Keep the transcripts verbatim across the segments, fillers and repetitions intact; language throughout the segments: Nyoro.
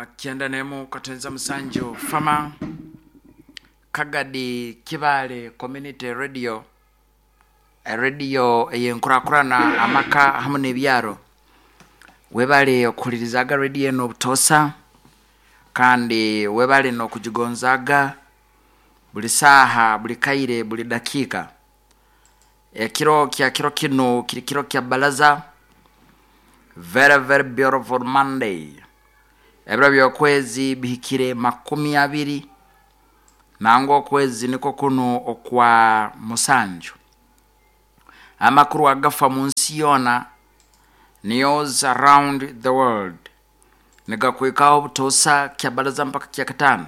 Kyenda nemu katenza musanju Fama Kagadi Kibale Community Radio, radio eyenkurakurana amaka hamu n'ebyaro. Webale okuhulirizaga radio eno obutosa, kandi webale n'okugigonzaga buli saaha, buli kaire, buli dakiika. Ekiro kya kiro kinu kiri kiro kya balaza, very very beautiful Monday. Ebiro by'okwezi bihikire makumi abiri nangwa okwezi niko kunu okwa musanju. Amakuru agafa mu nsi yoona, news around the world, nigakwikaho obutosa kya balaza mpaka kya kataano,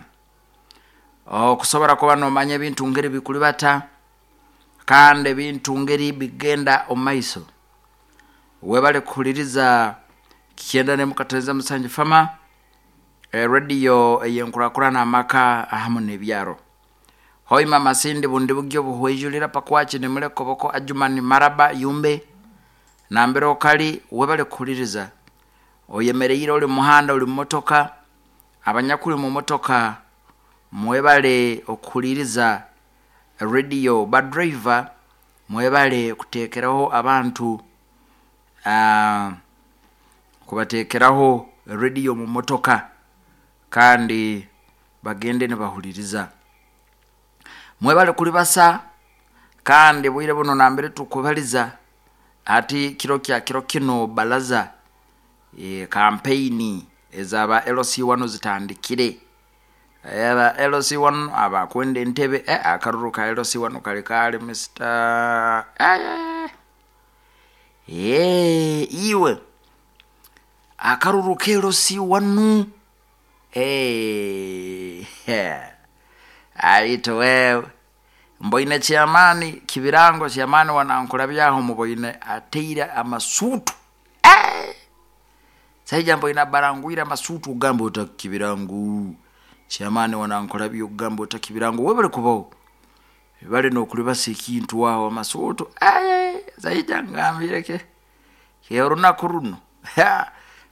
okusobora kuba nomanya ebintu ngeri bikulibata kandi ebintu ngeri bigenda omu maiso. Webale kuhuliriza kyenda nemu katenza musanju Fama, radio eyenkurakurana amaka hamu n'ebyaro. Hoima Masindi bundi bugyo buhwejulira Pakwaki nimulekoboko Ajumani Maraba Yumbe nambere okali, webale kuhuliriza. Oyemereire oli muhanda, oli mumotoka, abanyakuli mu motoka mwebale okuhuliriza radio. Ba driver mwebale kuteekeraho abantu, uh, kubateekeraho radio mu motoka kandi bagende nibahuliriza. Mwebale kulibasa, kandi bwire buno nambere tukubaliza ati kiro kya kiro kino balaza, e, kampeini ezaba L C one zitandikire. Aba L C one abakwenda entebe, eh, akaruru ka L C one kali kali Mister eh, eh, iwe akaruru ka L C one, eh, aito wewe mboine chairman kibirango, chairman wanankula byaho muboine ateire amasutu, eh, saija mboine barangwira amasutu ugamba utakibirangu chairman wanankula byo ugamba utakibirangu webale kubaho bale nokulibasa ekintu waho amasutu, eh, saija ngambireke orunaku runo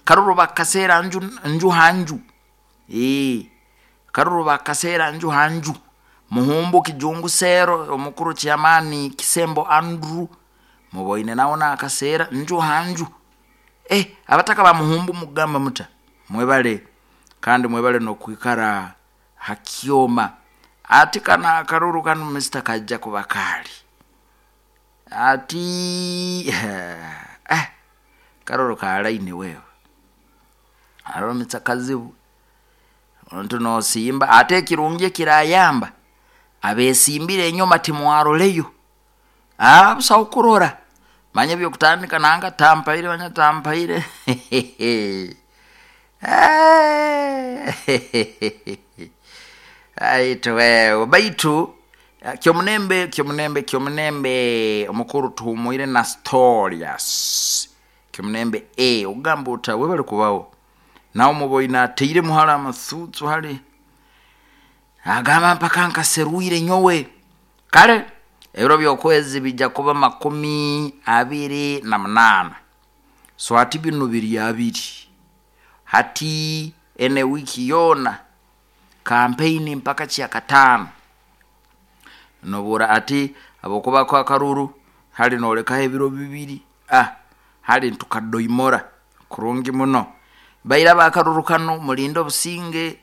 karuru bakasera nju, nju hanju, eh, karuru bakasera nju hanju muhumbu kijungu sero omukuru chairman Kisembo Andrew muboine nawo nakasera nju hanju, eh, abataka ba muhumbu mugamba muta mwebale kandi mwebale nokwikara hakyoma ati kana akaruru kanu Mister kajja kubakali ati eh, karuru kalaini wewe aromitsa kazibu ontu nosimba ate kirungi kirayamba abesimbire enyuma timwaroleyo abusa okurora manye byokutandika nanga tampaire manye tampaire aito wewe baitu kyomunembe kyomunembe kyomunembe omukuru tuhumuire na storias kyomunembe e ogamba uta webale kubaho nawo muboina ateire muhala amasutsu hali agamba mpaka nkaseruire nyowe kale ebiro by'okwezi bijja kuba makumi abiri na munana. So hati bino biri abiri hati ene wiki yona kampeyini mpaka kya kataano nobura ati abokuba kwa karuru hali nolekaho ebiro bibiri, ah, hali ntukadoimora kurungi muno baira bakaruru kano mulindo obusinge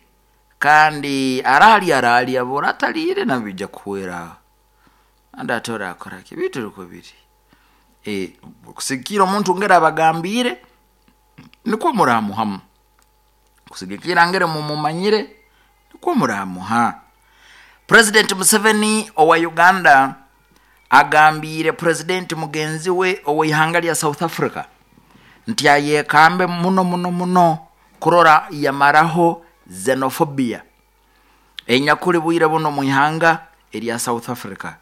kandi arali arali abora atalire nabijja kuhwera andi atora akora ki bitu ruko biri eh kusikira omuntu ngera abagambire niko muramuhamu kusigikira ngere mumumanyire niko muramuha. President Museveni owa Uganda agambire President mugenzi we owa ihanga lya South Africa nti ayekambe muno muno muno kurora yamaraho xenophobia enyakuli bwire buno mu ihanga erya South Africa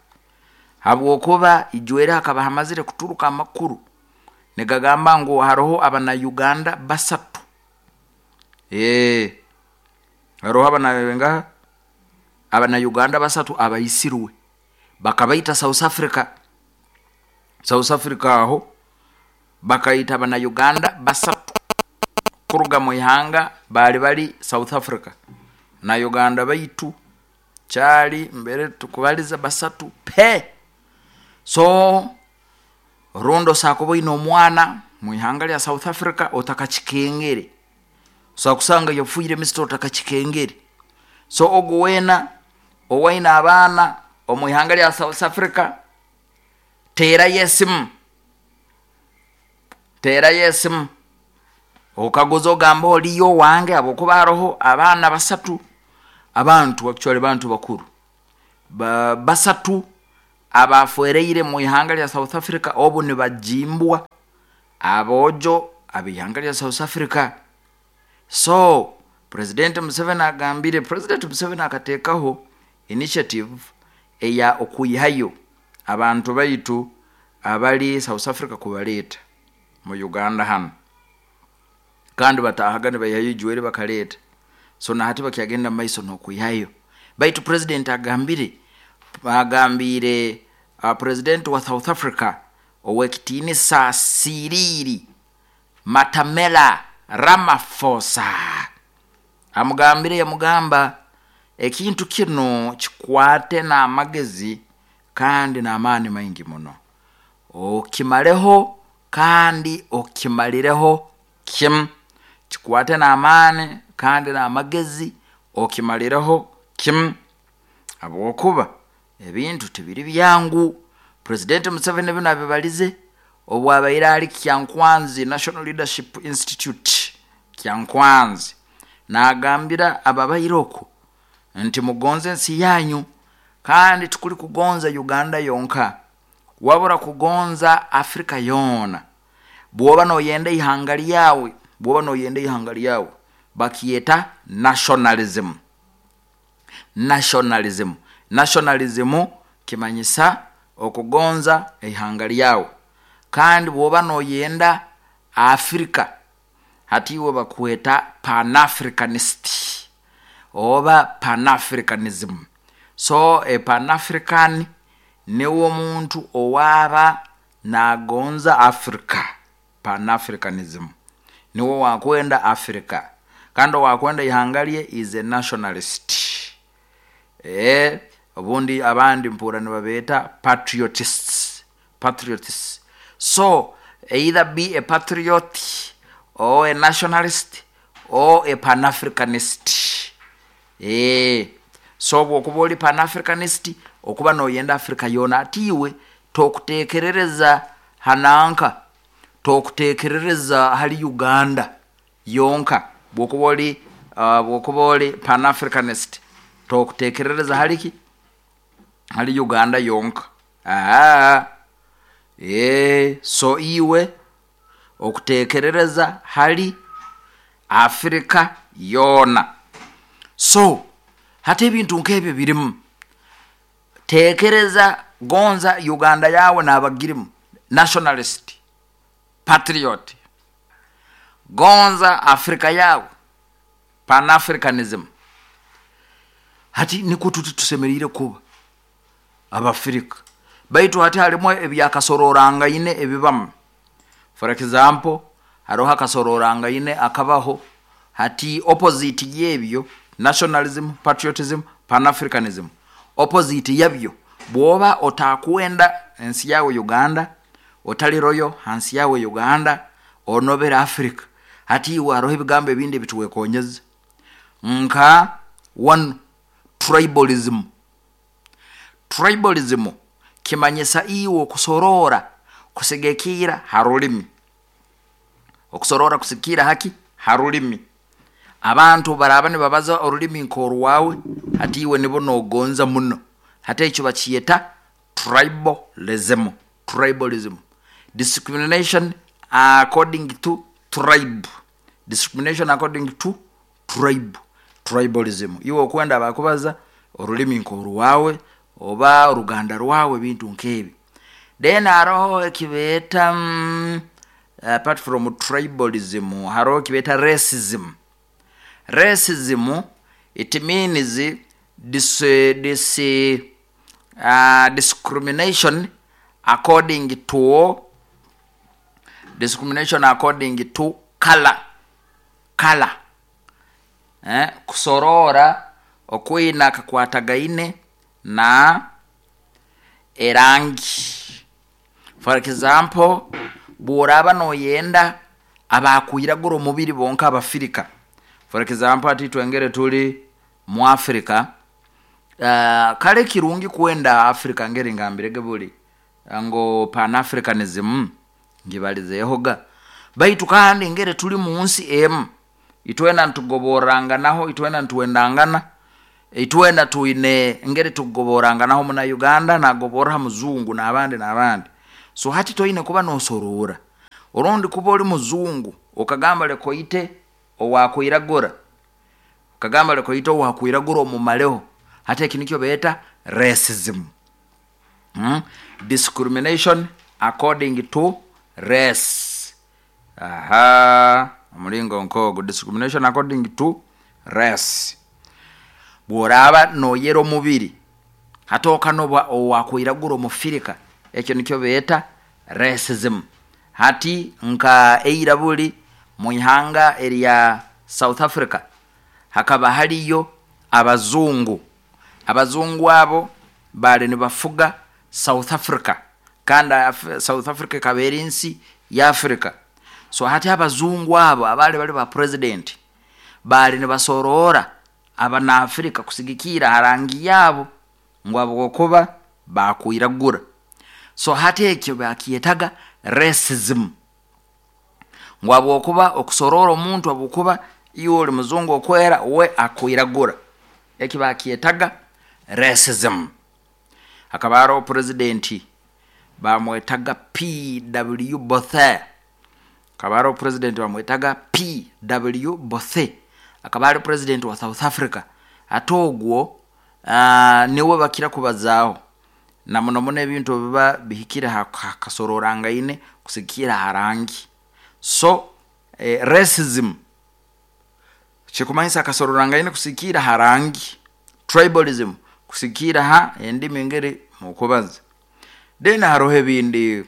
habwokuba ijwere hakaba hamazire kuturuka amakuru nigagamba ngu haroho abana Uganda basatu, eh haroho abana nga abana Uganda basatu abaisirwe bakabaita South Africa. South Africa aho bakaita abana Uganda basatu Kuruga mu ihanga baali bali South Africa na Uganda, baitu kyali mbere tukubaliza basatu pe. So rundi osobola kuba oine omwana mwihanga lya South Africa otakakikengere, osobola kusanga yafiire misita otakakikengere. So ogu weena owaine abaana omwihanga lya South Africa, teerayo esimu, teerayo esimu okaguze, ogambe oliyo owange, habwokuba haroho abaana basatu, abantu actually bantu bakuru ba, basatu abafwereire mu ihanga lya South Africa, obu nibajimbwa aboojo ab'ihanga lya South Africa. So President Museveni agambire, President Museveni akateekaho initiative eya okwihayo abantu baitu abali South Africa kubaleeta mu Uganda hanu, kandi bataahaga nibaihayo ijweri bakaleeta. So nahati bakyagenda mumaiso n'okwihayo, baitu president agambire agambiire uh, president wa South Africa ow'ekitiinisa Cyril Matamela Ramaphosa amugambire, yamugamba ekintu kinu kikwate n'amagezi kandi n'amaani maingi muno, okimareho kandi okimalireho kimu. Kikwate n'amaani kandi n'amagezi, okimalireho kimu, habwokuba ebintu tibiri byangu. President Museveni binu abibalize obu abaire ali Kyankwanzi National Leadership Institute Kyankwanzi, nagambira ababaire oku nti mugonze ensi yanyu, kandi tukuli kugonza Uganda yonka, wabura kugonza Afrika yoona. Bwoba noyenda ihanga lyawe, bwoba noyenda ihanga lyawe, bakyeta nationalism. Nationalism, nationalism kimanyisa okugonza ihanga lyawe. Kandi bwoba noyenda Afrika, hati iwe bakweta panafricanist oba panafricanism. So e panafrican niwe omuntu owaaba nagonza Africa. Panafricanism niwe wakwenda Africa, kandi owakwenda ihanga lye is a nationalist. E, obundi abandi mpura nibabeeta patriotists, patriotists. So either be a patriot or a nationalist or a panafricanist. E, so bwokuba oli panafricanist, okuba noyenda Africa yoona, ati iwe tokutekerereza hananka, tokutekerereza hali Uganda yonka. Bwokuba oli uh, bwokuba oli panafricanist, tokutekerereza haliki hali Uganda yonka. Aa, e, so iwe okutekerereza hali Afrika yoona. So hati ebintu nk'ebyo birimu. Tekereza gonza Uganda yawe n'abagirimu, nationalist, patriot. Gonza Afrika yawe, panafricanism. Hati nikwo tuti tusemeriire kuba Abafirika. Baitu hati harimu ebyakasororangaine ebibamu. For example, haroho akasororangaine akabaho hati, opposite y'ebyo, nationalism, patriotism, panafricanism, opposite yabyo, bwoba otakwenda ensi yawe Uganda, otali royo hansi yawe Uganda, onobera Africa, hati iwe haroho ebigambo ebindi ebituwekonyeza nka one, tribalism. Tribalism kimanyisa iwe okusorora kusigikira ha rulimi, okusorora kusigikira haki ha rulimi. Abantu baraba nibabaza orulimi nk'orwawe, hati iwe nibo nogonza muno. Hati ekyo bakiyeta tribalism. Tribalism, discrimination according to tribe, discrimination according to tribe, tribalism. Iwe okwenda bakubaza orulimi nk'orwawe oba oruganda rwawe, ebintu nk'ebi. Then haroho ekibeeta mm, apart from tribalism, haroho ekibeeta racism. Racism, it means this, this uh, discrimination according to discrimination according to color. Kala eh, kusorora okwina kakwatagaine na erangi. For example, bworaba noyenda abakwiragura omubiri bonka Abafirika, for example ati twengere tuli mu Africa, uh, kale kirungi kwenda Africa ngeri ngambirege buli ngo Pan Africanism ngibalizeehoga, baitu kandi ngere tuli munsi emu, itwena ntugoboranganaho, itwena ntuwendangana, itwena twine ngeri tugoboranganaho, muna Uganda nagobora muzungu n'abandi n'abandi. So hati toine kuba nosorora orundi kuba oli muzungu okagamba lekoite owakwiragura, okagamba lekoite owakwiragura omumaleho. Hati eki nikyo beeta racism, hmm? Discrimination according to race. Aha, omulingo nk'ogu, discrimination according to race. Bworaba noyera omubiri hati okanoba owakwiragura omufirika, ekyo nikyo beeta racism. Hati nka eira buli mwihanga erya South Africa hakaba hariyo abazungu. Abazungu abo baali nibafuga South Africa, kandi South Africa ekaba eri nsi ya Africa. So hati abazungu abo abaali bali ba president baali nibasorora abanaafrika kusigikiira ha rangi yaabo, ngu habwokuba bakwiragura. So hati ekyo bakyetaga racism, ngu habwokuba okusorora omuntu habwokuba iwe oli muzungu okwera, we akwiragura, eki bakyetaga racism. Hakaba haroho president bamwetaga P W Botha, hakaba haroho president bamwetaga P W Botha, akaba ali president wa South Africa. Ate ogwo uh, niwe bakira kubazaaho na muno muno ebintu biba bihikire hakasororangaine kusigikiira ha rangi. So eh, racism kikumanyisa akasororangaine kusigikiira ha rangi, tribalism kusigikiira ha endimi ngeri mukubaza. Then haroho ebindi,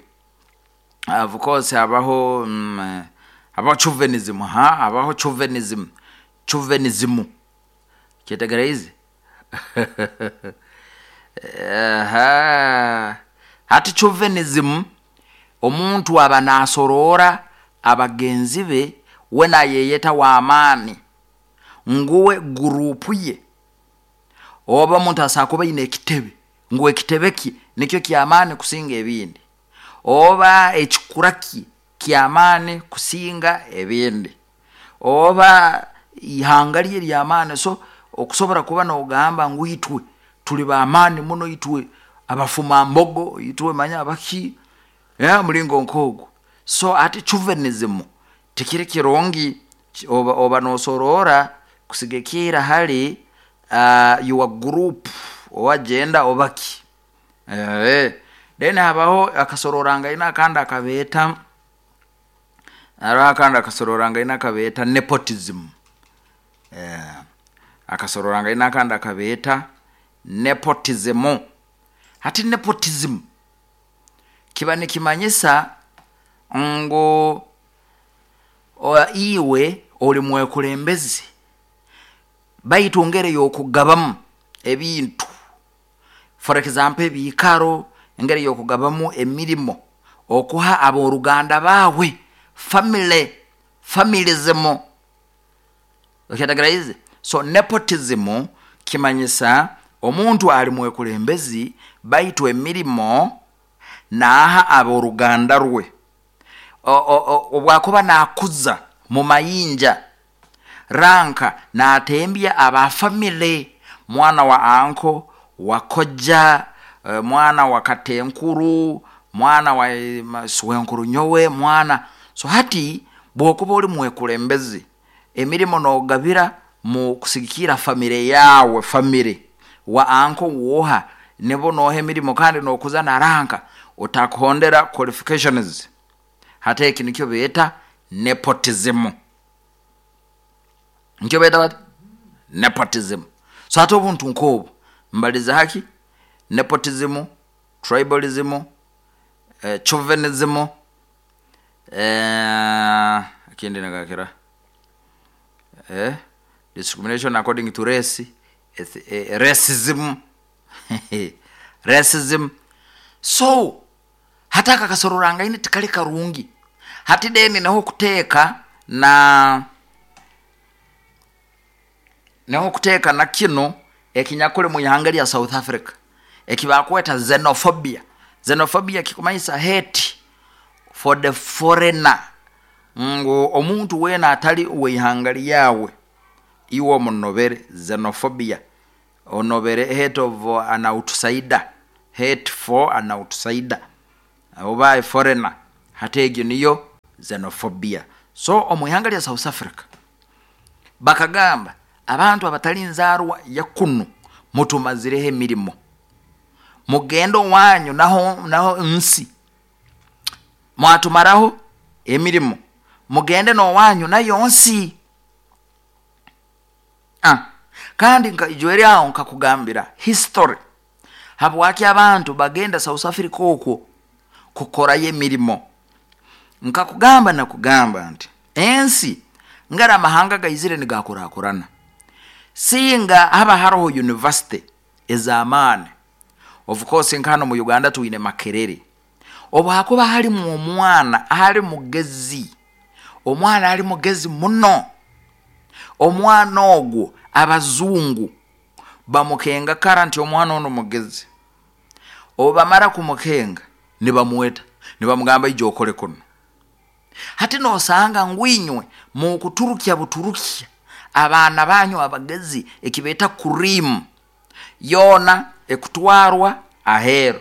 of course habaho mm, habaho chauvinism, ha habaho chauvinism, chauvinism kyetegereize. Aha, hati chauvinism omuntu aba nasorora abagenzi be, we nayeyeta w'amaani nguwe gurupu ye, oba omuntu asobola kuba aine ekitebe ngu ekitebe kye nikyo ky'amaani kusinga ebindi, oba ekikura kye ky'amaani kusinga ebindi, oba ihanga rye ly'amaani. So okusobora kuba nogamba ngu itwe tuli b'amaani muno, itwe abafumambogo, itwe manya abaki, mulingo nk'ogwo. So ati chauvinism tikiri kirungi, oba, oba nosorora kusigikiira hali uh, your group owagenda obaki. Eh, then habaho akasororangaine akandi akabeeta, haroho akandi akasororangaine akabeeta nepotism. Eh, akasororangaine akandi akabeeta nepotism. Hati nepotism kiba nikimanyisa ngu iwe oli mwekulembezi, baitu ngeri y'okugabamu ebintu, for example ebiikaro, engeri y'okugabamu emirimo, okuha ab'oruganda baawe, family, familism, okyetegereize. So nepotism kimanyisa omuntu ali mwekulembezi baitu emirimo naaha ab'oruganda rwe, obwakuba nakuza mu mayinja ranka natembya aba family, mwana wa anko wa kojja, mwana wa katenkuru, mwana wa swenkuru nyowe mwana. So hati bwokuba oli mwekulembezi emirimo nogabira mu kusigikiira family yawe, family wa anko woha nibo noha emirimo, kandi nokuza na ranka otakuhondera qualifications. Hati eki nikyo beeta nepotism, nikyo beeta bati nepotism. So hati obuntu nk'obu mbaliza haki nepotism, tribalism, eh, chauvinism, eh, ekindi nagakira. eh? Discrimination according to race, eh, racism racism. So hati aka kasororangaine tikali karungi. Hati deni naho kuteeka na naho kuteeka na kino ekinyakule mu ihanga lya South Africa ekibakweta xenophobia. Xenophobia kikumanyisa hate for the foreigner, ngu omuntu wena atali weihanga lyawe iwe omunobere. Xenophobia onobere hate of an outsider, hate for an outsider oba a foreigner. Hati egyo niyo xenophobia. So omu ihanga lya South Africa bakagamba abantu abatali nzaarwa ya kunu mutumazireho emirimo, mugende owanyu naho, naho nsi mwatumaraho emirimo, mugende nowanyu nayo nsi. Ah, kandi nka aho nkakugambira history habwaki abantu bagenda South Africa okwo kukorayo emirimo. Nkakugamba nakugamba nti ensi ngara amahanga gaizire nigakurakurana, singa haba haroho university ez'amaani. Of course nkano mu Uganda tuine Makerere, obu hakuba halimu omwana ali mugezi, omwana ali mugezi muno, omwana ogwo abazungu bamukenga kara nti omwana ono mugezi. Obu bamara kumukenga nibamuweta nibamugamba ijja okole kuno. Hati nosanga ngwinywe mukuturukya buturukya abaana banyu abagezi ekibeta kurimu yona ekutwarwa ahero.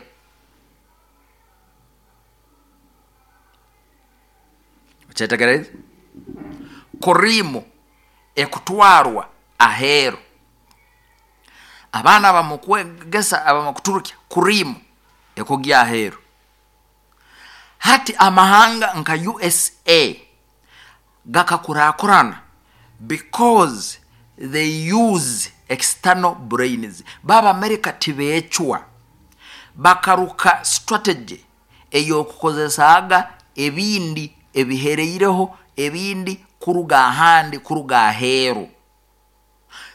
Okyetegereza? Kurimu ekutwarwa ahero. Abaana bamukwegesa abamukuturukya kurimu ekugya ahero. Hati amahanga nka U S A gakakurakurana because they use external brains. Baba America tibechwa bakaruka strategy eyokukozesaga ebindi ebihereireho ebindi kuruga ahandi kuruga aheru.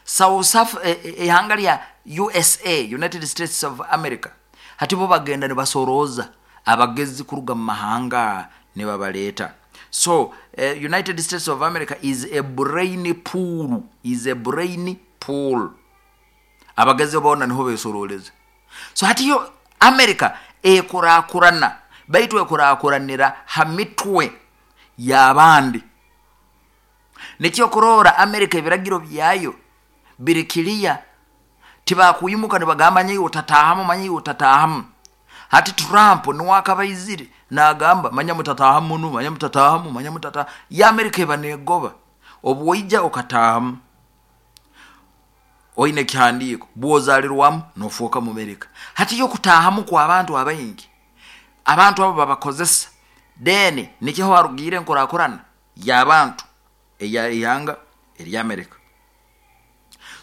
South Africa, ihanga lya U S A, United States of America, hati bo bagenda nibasoroza abagezi kuruga mu mahanga nibabaleta. So uh, United States of America is a brain pool, is a brain pool. Abagezi bona niho besoroleza. So hati yo America ekurakurana, baitu ekurakuranira hamitwe y'abandi. Nikyo kurora America ebiragiro byayo birikilia, tibakuyimuka nibagamba nyi utatahamu manyi utatahamu. Hati Trump niwakabaizire nagamba manya mutatahamu nu manya mutatahamu manya mutata ya America ebanegoba obwoija okatahamu oine kihandiko bwozalirwamu nofuoka mu America. Hati yo kutahamu kwa abantu abaingi abantu abo babakozesa deni nikiho arugire nkurakurana y'abantu eya ihanga erya America.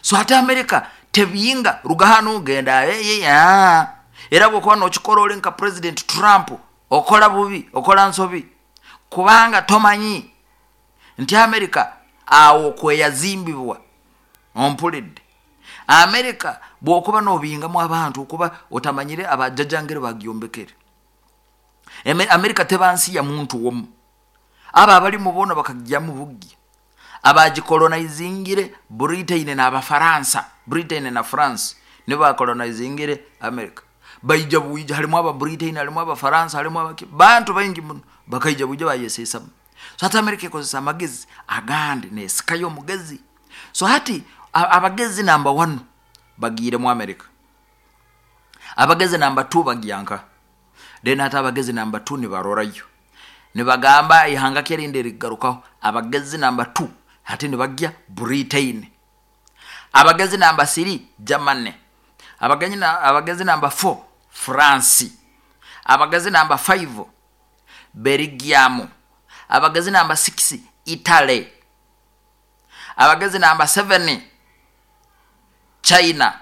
So hati America tebiyinga rugahano genda ya era bwokuba nokikora oli nka President Trump okola bubi okola nsobi kubanga tomanyi nti America awo kweyazimbibwa ompulidde. America bwokuba nobingamu abantu okuba otamanyire abajjajjangere bagyombekere. America tebansi ya muntu womu, aba abali mubona bakajjamu buggi abagikolonizingire Britain na Abafaransa, Britain na France nibo bakolonizingire America. Baija buija halimu aba Britain halimu Abafaransa halimu abaki bantu baingi muno bakaija buija bayesesa. So hati America ekozesa amagezi agandi nesikayo omugezi. So hati abagezi number one bagire mu America, abagezi number two bagyanka, then hati abagezi number two nibarorayo nibagamba ihanga kerinde rigarukaho. Abagezi number two hati nibagya Britain, abagezi number three Germany, abagezi na abagezi number four France, abagezi number five Belgium, abagezi number six Italy, abagezi number seven China,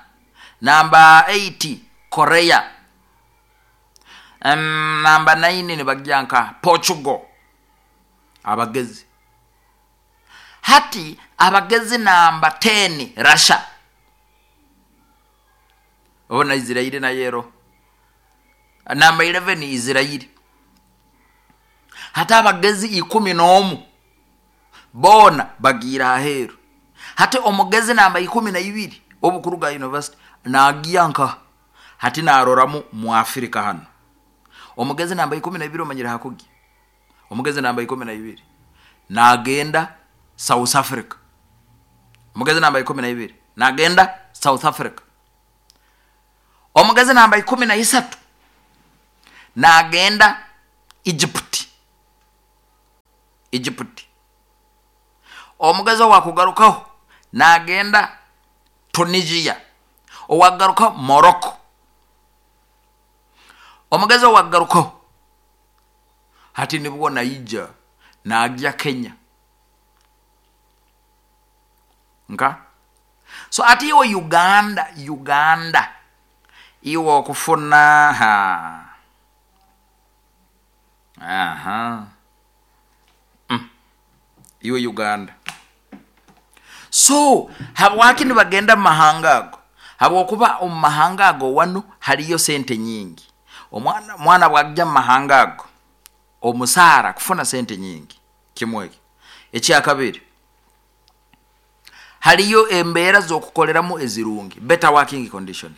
number eight Korea, um, number nine nibagyanka Portugal. Abagezi hati Abagezi namba ten Russia, obo na Israeli nayero namba eleven Israeli. Hati abagezi ikumi n'omu boona bagiire aheeru. Hati omugezi namba ikumi na ibiri obukuruga university nagiya nka hati naroramu mu Afrika hano. Omugezi namba ikumi na ibiri omanyire hakugi, omugezi namba ikumi na ibiri nagenda South Africa. Omugezi namba ikumi na ibiri nagenda South Africa. Omugezi namba ikumi na isatu nagenda Egypt. Egypt. Omugezi owakugarukaho nagenda Tunisia, owagarukaho Morocco. Omugezi owagarukaho hati nibwo naija nagya Kenya. Nka so ati iwe Uganda, Uganda iwe okufuna ha aha mm. Iwe Uganda. So habwaki nibagenda mu mahanga ago? Habwokuba omu mahanga ago wano haliyo sente nyingi. Omwana mwana bwajja mu mahanga ago omusaara kufuna sente nyingi kimweki. Ekyakabiri, haliyo embeera z'okukoleramu ezirungi, better working conditions.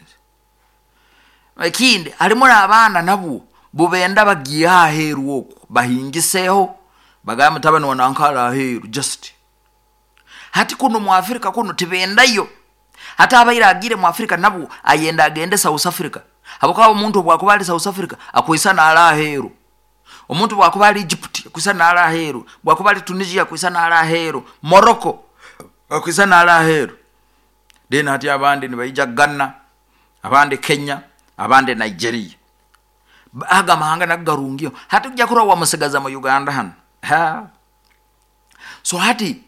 Ekindi halimu n'abaana nabwo bubenda bagiye aheeru okwo bahingiseho bagamba mutabani wanankala aheeru just. Hati kuno mu Afrika kuno tibendayo. Hata abaire agire mu Afrika nabwo ayenda agende South Africa. Habwokuba omuntu bwakuba ali South Africa akwisa n'ala aheeru. Omuntu bwakuba ali Egypt akwisa n'ala aheeru, bwakuba ali Tunisia akwisa n'ala aheeru, Morocco akwisa n'ala aheeru. Then hati abandi nibaija Ghana, abandi Kenya, abandi Nigeria. Aga mahanga nagarungio. Hati ujja kurwa wamusigaza mu Uganda hano. Ha. So hati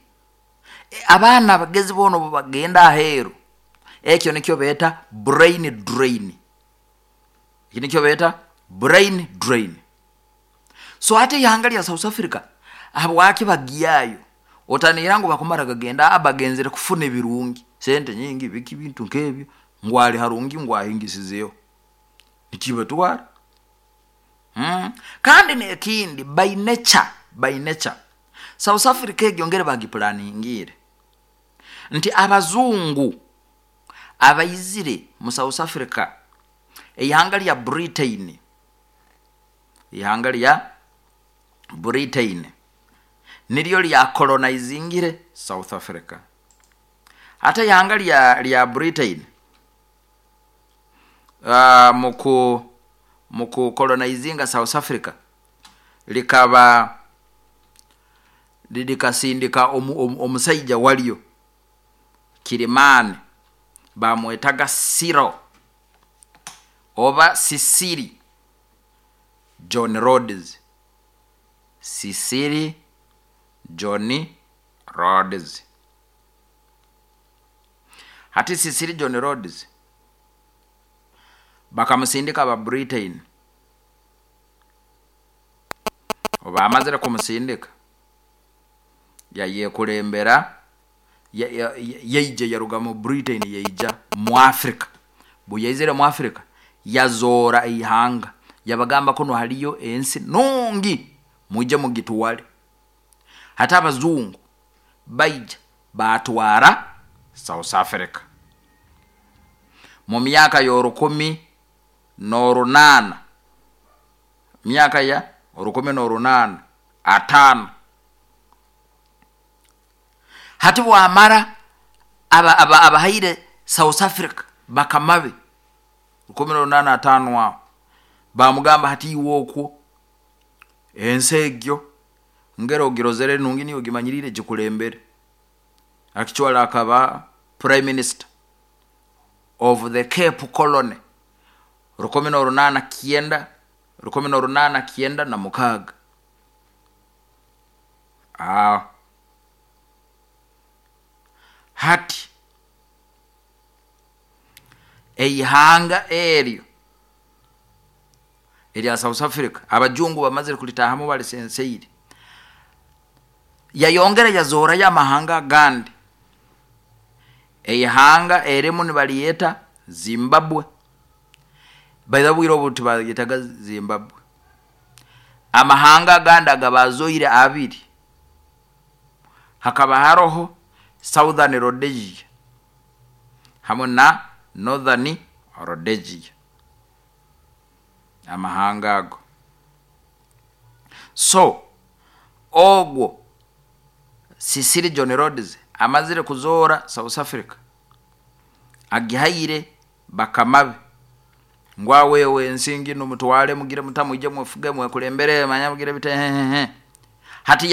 abaana abagezi bono bagenda aheeru. Ekyo nikyo beeta brain drain. Ekyo nikyo beeta brain drain. So hati ihanga lya South Africa habwaki bagiyayo? Otanira ngu bakumara gagenda abagenzere kufuna ebirungi, sente nyingi, biki bintu nkebyo, ngwali harungi ngwahingisizeyo. Nikibatwara. Mm. Kandi nekindi by nature, by nature South Africa egyo ngere bagiplaningire nti abazungu abaizire mu South Africa, ihanga lya Britain, ihanga lya Britain niryo lya colonizingire South Africa. Ate ihanga lya, lya Britain uh, muku muku colonizinga South Africa likaba likasindika omusaija walyo Kilimani bamwetaga Cyril oba Sisiri John Rhodes. Sisiri John Rhodes. Hati Sisiri John Rhodes bakamusindika ba Britain. Oba amazire kumusindika yayekulembera yeije yaruga mu Britain yeija mu Africa. Buyaizire mu Africa yazora ihanga yabagamba kuno haliyo ensi nungi muje mugitwale. Hata abazungu baija batwara South Africa mu myaka y'orukumi n'orunana, myaka ya orukumi n'orunana atano. Hati bwamara aba aba abahaire South Africa bakamabe rukumi n'orunana atano aho bamugamba hati iwe okwo ensi egyo ngero ogirozere nungi niyo gimanyirire gikulembere. Actually akaba prime minister of the Cape Colony rukumi n'orunana kienda rukumi n'orunana kienda na mukaga. Ah. Hati eihanga eryo erya South Africa abajungu bamazire kulitahamu bali senseiri yayongera yazora ya mahanga gandi. Eihanga erimu nibaliyeta Zimbabwe, baitha bwire obu tibayetaga Zimbabwe. Amahanga agandi agabazoire abiri, hakaba haroho Southern Rhodesia hamu na Northern Rhodesia, amahanga ago. So ogwo Cecil John Rhodes amazire kuzoora South Africa, agihaire bakama be ngu awewe ensi nginu mutwale, mugire muta, mwije mwefuge, mwekulembere, manya mugire bite hehehe. Hati.